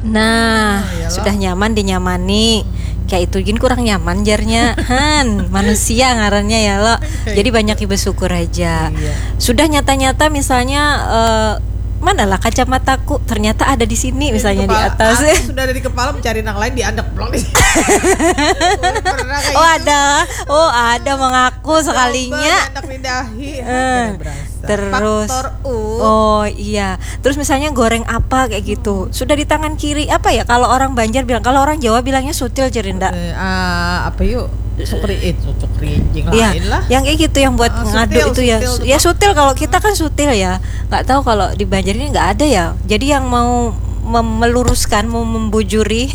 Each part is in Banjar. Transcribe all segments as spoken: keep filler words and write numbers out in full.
Nah, sudah nyaman dinyamani. Kayak itu gin kurang nyaman jarnya. Han, manusia ngarannya ya lo. Jadi banyak bersyukur aja. Sudah nyata-nyata misalnya eh, mana lah kacamataku? Ternyata ada di sini misalnya di atas. Sudah ada di kepala, mencari nang lain, diandak pulang di sini. Oh ada, oh ada mengaku sekalinya. Anak di dahi. Terus. Oh iya. Terus misalnya goreng apa kayak gitu. Sudah di tangan kiri apa ya? Kalau orang Banjar bilang, kalau orang Jawa bilangnya sutil, Jerinda. Eh, uh, apa yuk? Sukri itu sukri ya, lain lah. Yang kayak gitu yang buat uh, ngadu sutil, itu ya. Sutil, ya sutil, kalau kita kan sutil ya. Nggak tahu kalau di Banjar ini nggak ada ya. Jadi yang mau meluruskan, mau membujuri,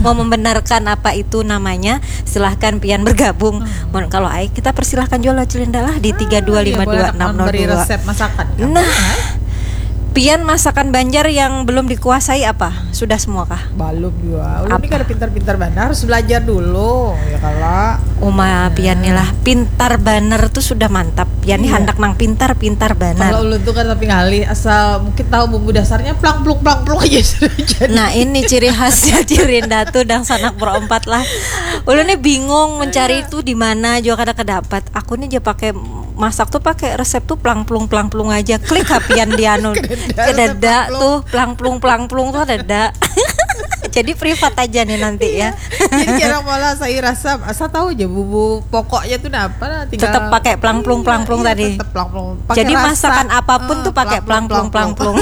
mau membenarkan apa itu namanya, silahkan pian bergabung. Hmm. Kalau ai kita persilahkan juga Jerinda lah di tiga dua lima dua enam nol dua. Resep masakan. Nah, pian masakan Banjar yang belum dikuasai apa? Sudah semua kah? Belum juga. Ulun ini kada pintar-pintar banar, harus belajar dulu ya kalau. Uma pian nih lah, pintar banar tuh sudah mantap. Pian nih handak nang pintar-pintar banar. Kalau ulun tuh kan tapi ngalih, asal mungkin tahu bumbu dasarnya, plang plung plang plung aja sudah jadi. Nah, ini ciri khasnya Jerinda tuh dangsanak berempat lah. Ulun nih bingung mencari itu di mana juga kada kedapat. Aku nih aja pakai masak tuh pakai resep tuh plang plung plang plung aja. Klik ha pian di anu. Kedada tuh plang plung plang plung tuh ada. Jadi privat aja nih nanti ya. Jadi jarang malah saya rasa, asa tahu aja bumbu pokoknya tuh apa lah. Tetap pakai plang plung plang plung tadi. Tetap plang plung. Jadi masakan apapun tuh pakai plang plung plang plung.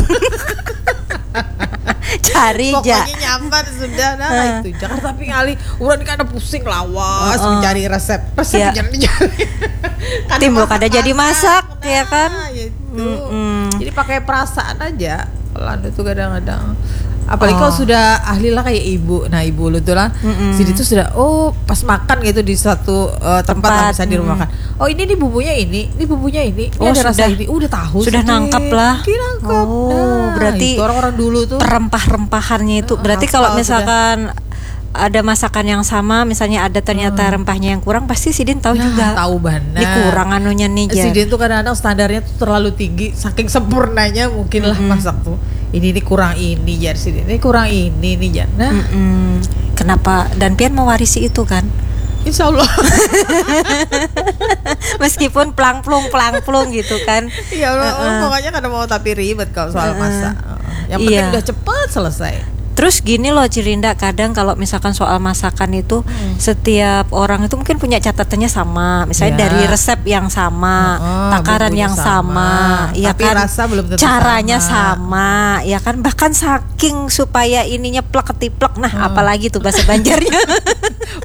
Cari aja. Pokoknya nyaman sudah nah itu. Jangan tapi ngalih. Udah kan pusing lawas mencari resep. Resep jangan dicari. Timbul kada jadi masak ya kan. Nah, ya itu. Jadi pakai perasaan aja. Kalau anu tuh kadang-kadang apalagi kalau sudah ahli lah kayak ibu, nah ibu lu tuh lah, sini tuh sudah, oh pas makan gitu di satu uh, tempat, tempat lah, misalnya di rumah makan, oh ini nih bumbunya ini, ini bumbunya ini, ini oh, ada sudah, rasa ini, udah tahu sudah sih, nangkep lah, nangkep. Oh nah, berarti itu orang-orang dulu tuh perempah-rempahannya itu uh, berarti kalau misalkan sudah ada masakan yang sama, misalnya ada ternyata hmm. rempahnya yang kurang, pasti sidin tahu nah, juga. Tahu banget. Ini kurang anunya nih, Jar. Sidin tuh kadang-kadang standarnya tuh terlalu tinggi, saking sempurnanya mungkin lah hmm. masak tuh. Ini ini kurang ini, Jar, sidin. Ini kurang ini nih, Jar. Nah. Hmm. Kenapa? Dan pian mewarisi itu kan? Insya Allah. Meskipun plang plung plang plung gitu kan. Iya, uh -uh. Pokoknya kada mau tapi ribet kalau soal uh -uh. masak. Yang penting iya. Udah cepat selesai. Terus gini loh Jerinda, kadang kalau misalkan soal masakan itu hmm. Setiap orang itu mungkin punya catatannya sama, misalnya ya. Dari resep yang sama, oh, takaran yang sama, sama. Ya tapi kan rasa belum tentu caranya sama. Sama, ya kan bahkan saking supaya ininya plek ketiplek, nah hmm. Apalagi tuh bahasa Banjarnya.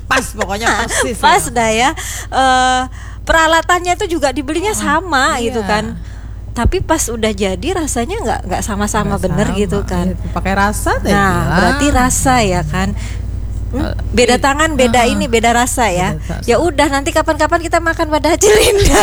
Pas pokoknya pas sih. Pas dah ya. Uh, peralatannya itu juga dibelinya oh, sama iya. Gitu kan. Tapi pas udah jadi rasanya nggak nggak sama-sama bener sama. Gitu kan. Iya, pakai rasa tadi. Nah, berarti rasa ya kan. Hmm, beda tangan, beda uh, ini, beda rasa ya. Rasa. Ya udah nanti kapan-kapan kita makan pada Cilinda.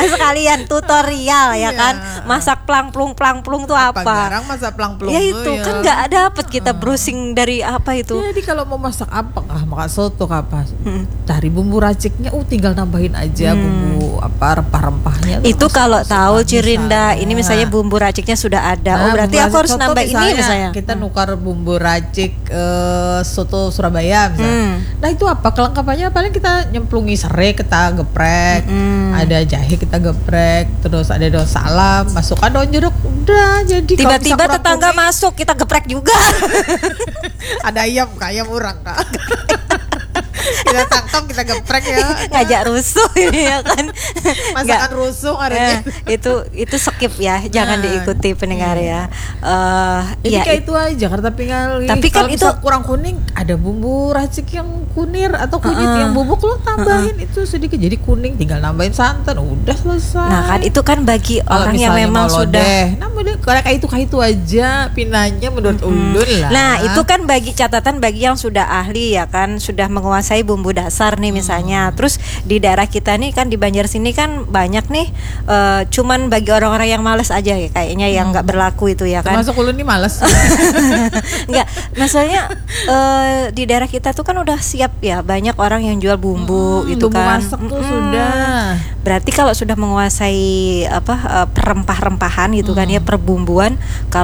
Sekalian tutorial ya iya. Kan. Masak plang plung plang plung tuh apa? Apa garang masak plang plung? Ya itu ya. Kan nggak dapet kita uh. Browsing dari apa itu. Jadi kalau mau masak apa kah? Makan soto kah apa? Hmm. Cari bumbu raciknya, uh tinggal nambahin aja hmm. Bumbu apa rempah-rempahnya. Itu kalau tahu Cirinda, ini misalnya bumbu raciknya sudah ada. Nah, oh berarti aku harus nambah ini misalnya. Kita hmm. Nukar bumbu racik uh, soto Surabaya misalnya. Hmm. Nah itu apa kelengkapannya? Paling kita nyemplungi serai, kita geprek, hmm. Ada jahe kita geprek, terus ada daun salam, masukkan daun jeruk, udah jadi. Tiba-tiba tetangga kuning, masuk, kita geprek juga. Ada ayam kak, ayam orang kak. Kita tangkap, kita geprek ya. Ngajak rusuh ini ya kan. Masakan rusuh hari eh, itu itu skip ya, jangan nah, diikuti pendengar iya. Ya. Uh, jadi ya, kayak itu aja Jakarta Pingali. Tapi kan itu kurang kuning, ada bumbu racik yang kunir atau kunyit uh, yang bubuk lo tambahin uh, itu sedikit jadi kuning, tinggal nambahin santan, udah selesai. Nah kan itu kan bagi kalo orang yang memang sudah. Deh, nah, kayak itu kayak itu aja pinanya menurut hmm. Ulun lah. Nah itu kan bagi catatan bagi yang sudah ahli ya kan, sudah menguasai bumbu dasar nih misalnya. Hmm. Terus di daerah kita nih kan di Banjar sini kan banyak nih uh, cuman bagi orang-orang yang males aja ya kayaknya yang nggak hmm. Berlaku itu ya kan. Termasuk ulun nih males. Enggak, maksudnya uh, di daerah kita tuh kan udah siap ya, banyak orang yang jual bumbu hmm, gitu bumbu kan. Masak tuh mm -mm. Sudah. Berarti kalau sudah menguasai apa uh, perempah-rempahan gitu hmm. Kan ya, perbumbuan, kalau